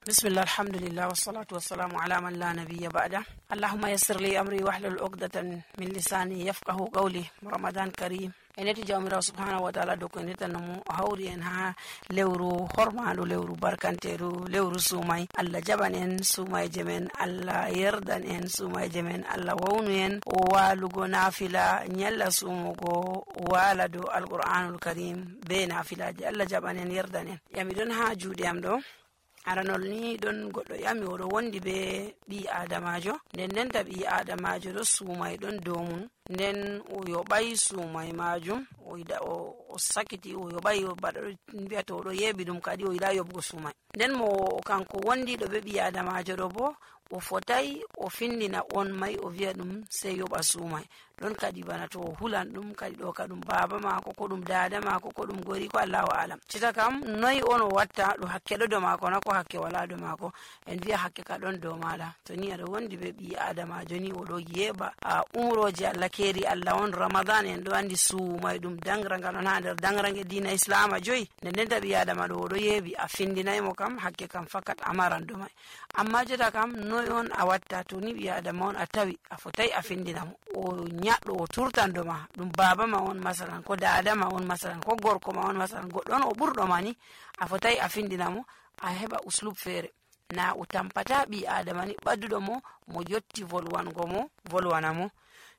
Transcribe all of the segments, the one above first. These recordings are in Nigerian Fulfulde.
بسم الله الحمد لله والصلاة والسلام على من لا نبي بعده. اللهم يسر لي أمري واحلل عقدة من لساني يفقه قولي. رمضان كريم eneti jawmirawo subhanahu wa ta'ala do ko enetanomo hawri en ha lewru hormaɗo lewru barkanteru lewru sumay. Allah jaɓan en sumayje men, Allah yerdan en sumayje men, Allah wawnu en o walugo nafila nyalla sumugo wala do alqur'anul karim be nafilaje. Allah jaɓan en yerdan en. Yami don ha juuɗe am ɗo aranol ni don goɗɗo yami oɗo wondi be ɓi adamajo, nden ta ɓi adamajo ɗo sumay ɗon dow mum, nden o yoɓay sumay majum o sakiti o yoɓay baɗo mbiyata oɗo yeɓi ɗum kadi o yiɗa yoɓugo sumay. Nden mo kanko wondi ɗo be ɓi adamajo ɗo bo o fotai o findina on mai o wiya ɗum sei yoɓa sumay. Ɗon kadi bana to o hulan ɗum kadi ɗo ka ɗum baba mako ko ɗum dada mako ko ɗum gori ko Allahu alam. Cita kam noyi on o watta ɗo hakke ɗo dow mako na ko hakke wala dow mako. En wiya hakke ka ɗon dow maɗa. To ni aɗa wondi be ɓi adamajo ni oɗo yeɓa umroje Allah keri Allah on Ramadan en ɗo andi sumay ɗum dangragal on ha nder dangrange dina islama joyi. Nden ta ɓi adama ɗo oɗo yeɓi a findinaymo kam hakke kam fakat amaran ɗo mai. Amma jeta kam noyi on a watta to ni ɓi adama on a tawi a fotai a findinamo o nyaɗɗo o turtan do ma ɗum baba ma on masalan ko dada ma on masalan ko gorko ma on masalan goɗɗon o ɓurɗo ma ni a fotai a findinamo a heɓa uslub feere na o tampata ɓi adama ni ɓadduɗo mo yotti volwango mo volwanamo.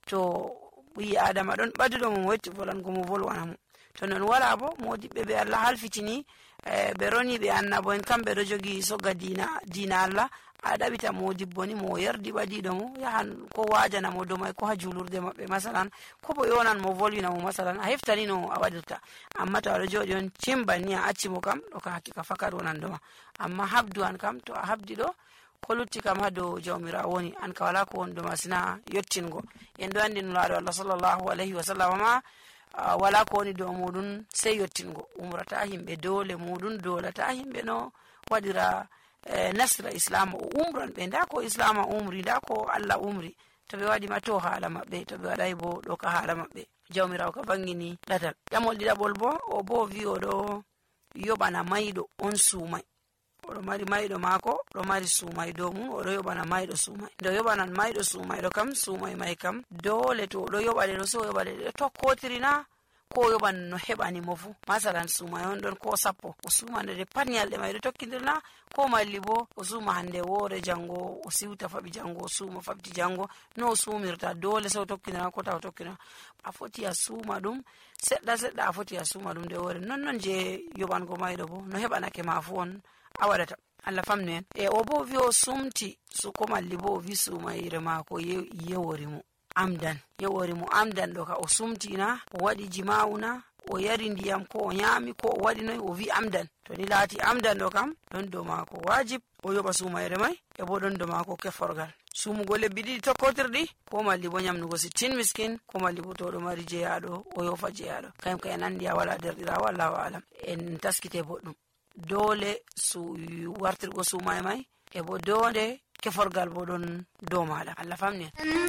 To ɓi adama ɗon ɓadduɗo mo yotti volwango mo volwanamo. To non wala bo modiɓɓe ɓe Allah halfitini ɓe roni ɓe annabo en kamɓe ɗo jogi sogga dina Allah. A ɗaɓita modibbo ni mo yardi ɓadiɗo mo yahan ko wajana mo dow mai ko ha julurde maɓɓe masalan ko bo yonan mo volwina mo masalan a heftani no a waɗirta. Amma to aɗo joɗi on cimbanni a acci mo kam ɗo ka hakkika fakat wonan doma. Amma habdu an kam to a habdi ɗo ko lutti kam ha dow jawmirawo woni an ka wala ko won doma sina yottingo. En ɗo andi nulaɗo Allah sallallahu alayhi wa sallam ma wala ko woni dow muɗum sei yottingo. Umrata himɓe dole muɗum dolata himɓe no waɗira nasra islam o umran ɓe nda ko islam umri nda ko Allah umri. To ɓe waɗi ma to haala maɓɓe, to ɓe waɗay bo ɗo ka haala maɓɓe. Jawmirawo ka bangini ɗatal. Ƴamol ɗiɗaɓol bo o bo wi oɗo yoɓana mayɗo on sumay. Oɗo mari mayɗo mako ɗo mari sumay dow mum oɗo yoɓana mayɗo sumay. Nde yoɓanan mayɗo sumay ɗo kam sumay may kam dole to oɗo yoɓaɗe ɗo so yoɓaɗe ɗo tokkotiri na ko yoɓan no heɓani mo fu. Masalan sumay on ɗon ko 10 o suma nde pat nyalɗe may ɗo tokkidirna ko malli bo o suma hande woore jango o siwta faɓi jango o suma faɓti jango no o sumirta dole so tokkidira ko taw tokkidira a foti a suma ɗum seɗɗa a foti a suma ɗum nde woore non je yoɓango mayɗo bo no heɓanake ma fu on a waɗata. Allah famnu en. O bo wi o sumti so ko malli bo o wi sumayre mako yewori mo amdan ɗo ka o sumtina o waɗi jima'una o yari ndiyam ko o nyami ko o waɗi noy o wi amdan. To ni laati amdan ɗo kam ɗon dow mako wajib o yoɓa sumayre mai e bo ɗon dow mako keforgal sumugo lebbi ɗiɗi tokkotirɗi ko malli bo nyamnugo 60 miskin ko malli bo to ɗo mari jeyaɗo o yofa jeyaɗo kayum ka en andi a wala derɗirawo Allahu alam. En taskite boɗɗum dole wartirgo sumay mai e bo dole keforgal bo ɗon dow maɗa. Allah famni en.